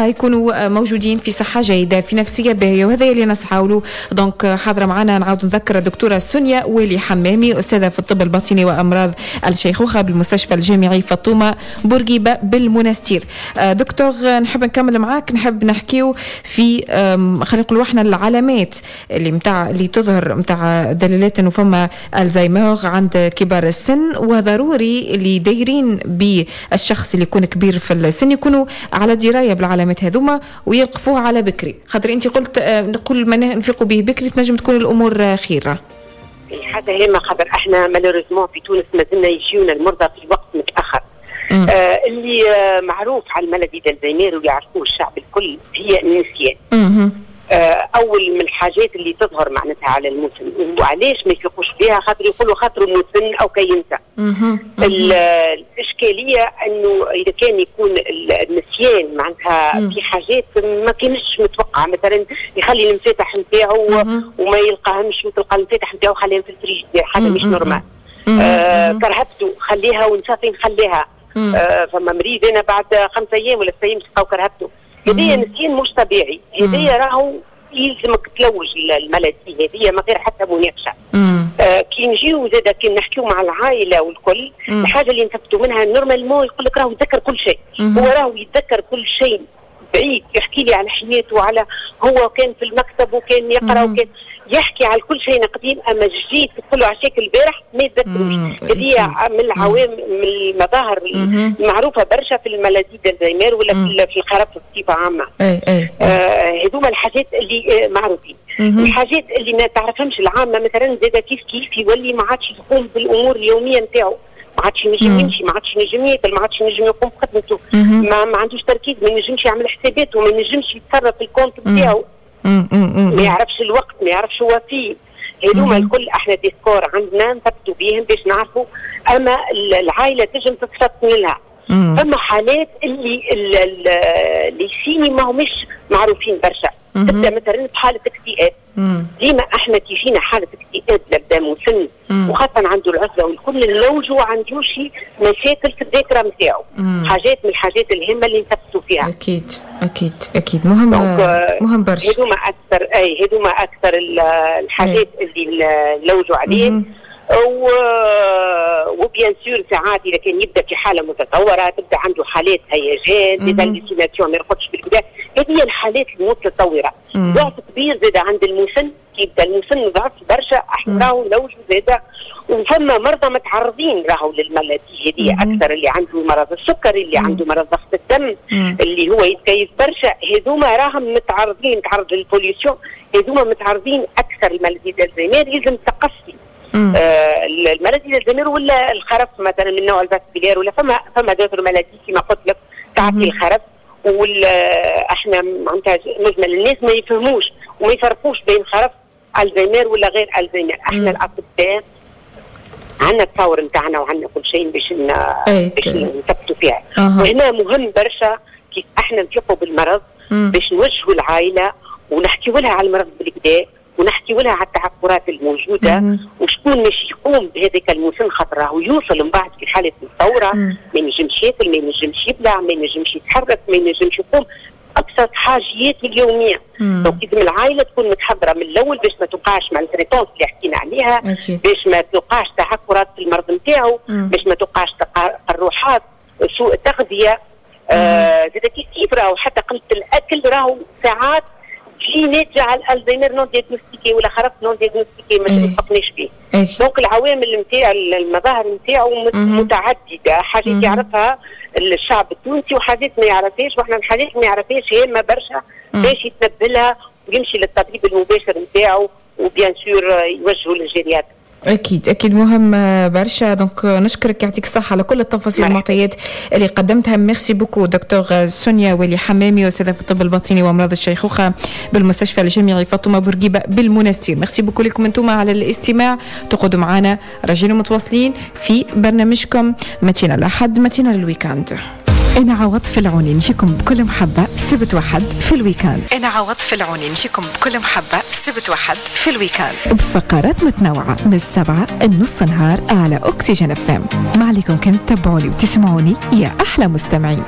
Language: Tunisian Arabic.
يكونوا موجودين في صحة جيدة، في نفسية باهيه، وهذا اللي نسعى له. donc حاضره معنا، نعاود نذكر، الدكتورة سونيا والي حمامي، استاذه في الطب الباطني وامراض الشيخوخة بالمستشفى الجامعي فاطمة بورقيبة بالمنستير. دكتور، نحب نكمل معاك، نحب نحكيو في خلينا نقولوا احنا العلامات اللي متاع اللي تظهر متاع دلالات انه فما الزهايمر عند كبار السن، وضروري اللي دايرين بالشخص اللي يكون كبير في السن يكونوا على دراية بالعلامات هذوما ويلقفوها على بكري، خاطر انت قلت كل ما نفيقوا به بكري تنجم تكون الامور خيره. حاجة هامه، خاطر احنا malheureusement في تونس مازلنا يجيونا المرضى في وقت متاخر. اللي معروف على ال maladie d'Alzheimer ويعرفوه الشعب الكل هي النسيان. اول من الحاجات اللي تظهر معناتها على المسن. وعلاش ما يفيقوش بها؟ خاطر يقولوا خاطر مسن او كي ينسى. الاشكالية انه اذا كان يكون النسيان معناتها في حاجات ما كانش متوقعه، مثلا يخلي المفاتح نتاعو وما يلقاهمش، وتلقى المفاتح نتاعو خليهم في الفريجيدير، حاجة مش normale. كرهبته خليها ونسى فين خليها. فما مريض انا بعد 5 ايام ولا 6 ايام تلقاو كرهبته. هذايا نسيان مش طبيعي، هذايا راهو يلزمك تلوج ال maladie هذه ما غير حتى مناقشه. كي نجيو زاد كي نحكيو مع العائلة والكل، الحاجة اللي نثبتوا منها، normalement يقول لك راهو يتذكر كل شيء. هو راهو يتذكر كل شيء بعيد، يحكي لي على حياته، على هو كان في المكتب وكان يقرا وكان يحكي على كل شيء قديم، اما جديد تقول له عشاك البارح ما يتذكروش. هذه من العوامل، من المظاهر المعروفة برشا في ال maladie d'Alzheimer ولا في الخرف بصفة عامه. اي اي هذوما الحاجات اللي معروفين. الحاجات اللي ما تعرفهمش العامة مثلا زاد كيف كيف، يولي ما عادش يقوم بالامور اليومية نتاعو، ما عادش ينجم يمشي، ما عادش ينجم ياكل، ما عادش ينجم يقوم بخدمته، ما عندوش تركيز، ما ينجمش يعمل حساباته، ما ينجمش يتصرف في ال compte نتاعو، ما يعرفش الوقت، ما يعرفش هو فيه. هذوما الكل احنا des scores عندنا نثبتوا بيهم باش نعرفوا، اما العائلة تنجم تتفطن لها. فما حالات اللي les signes ما همش معروفين برشا، تبدا مثلا بحاله اكتئاب. ديما احنا تيجينا حاله اكتئاب نبدا مسن وخاصة عنده العزلة والكل، نلوجوا عنده شي مشاكل في الذاكرة نتاعو، حاجات من الحاجات الهامة اللي نثبتوا فيها. اكيد، مهم مهم برشا. هذوما اكثر، اي هذوما اكثر الحاجات اللي نلوجوا عليه. و bien sûr ساعات اذا كان يبدا في حاله متطوره، تبدا عنده حالات هيجان، des hallucinations، ما يرقدش بالكدا. هذه هي الحالات المتطوره. ضعف كبير زاد عند المسن، كي يبدا المسن ضعف برشا احنا راهو نلوجوا زاد. وفما مرضى متعرضين راهو لل maladie هذه اكثر، اللي عنده مرض السكري، اللي عنده مرض ضغط الدم، اللي هو يتكيف برشا، هذوما راهم متعرضين، متعرض لل pollution، هذوما متعرضين اكثر لل maladie d'Alzheimer. لازم تقصي ال maladie d'Alzheimer ولا الخرف مثلا من نوع ال vasculaire، ولا فما d'autres maladies كما قلت لك تعطي الخرف. وال احنا معناتها مجمل الناس ما يفهموش وما يفرقوش بين خرف الزهايمر ولا غير الزهايمر. احنا الاطباء عندنا التصاور نتاعنا وعندنا كل شيء باش نثبتوا فيها. وهنا مهم برشا كيف احنا نفيقوا بالمرض باش نوجهوا العائلة ونحكيوا لها على المرض بالكدا ونحكيوا لها على التعثرات الموجودة وشكون مش يقوم بهذاك المسن، خاطر راهو يوصل من بعد في حاله متطوره، ما ينجمش ياكل، ما ينجمش يبلع، ما ينجمش يتحرك، ما ينجمش يقوم ابسط حاجياته اليوميه. donc لازم العائلة تكون متحضره من الاول باش ما توقعش maltraitance اللي حكينا عليها، باش ما توقعش تعثرات في المرض نتاعو، باش ما توقعش تقرحات، سوء تغذيه. زاد كيف كيف راهو حتى قلة الاكل راهو ساعات تجي ناتجة على الالزهايمر non diagnostiqué ولا خرف non diagnostiqué ما تفقناش به. donc العوامل نتاع المظاهر نتاعو متعدده، حاجات يعرفها الشعب التونسي وحاجات ما يعرفهاش، واحنا الحاجات ما يعرفهاش هامة برشا باش يتنبه لها ويمشي للطبيب المباشر نتاعو و bien sûr يوجهوا لل gériatre. اكيد اكيد، مهم برشا. donc نشكرك، يعطيك الصحة على كل التفاصيل والمعطيات اللي قدمتها. merci beaucoup دكتور سونيا ولي حمامي، استاذه في الطب الباطني وامراض الشيخوخة بالمستشفى الجامعي فاطمة بورقيبة بالمنستير. merci beaucoup لكم انتم على الاستماع، تقعدوا معنا راجعين متواصلين في برنامجكم matinale الأحد، matinale ال week-end. أنا عواطف العوني نجيكم بكل محبة سبت وحد في ال week-end. أنا عواطف العوني نجيكم بكل محبة سبت وحد في ال week-end بفقرات متنوعة من 7 النص نهار على أكسجين FM. ما عليكم كان تتبعوني وتسمعوني يا أحلى مستمعين.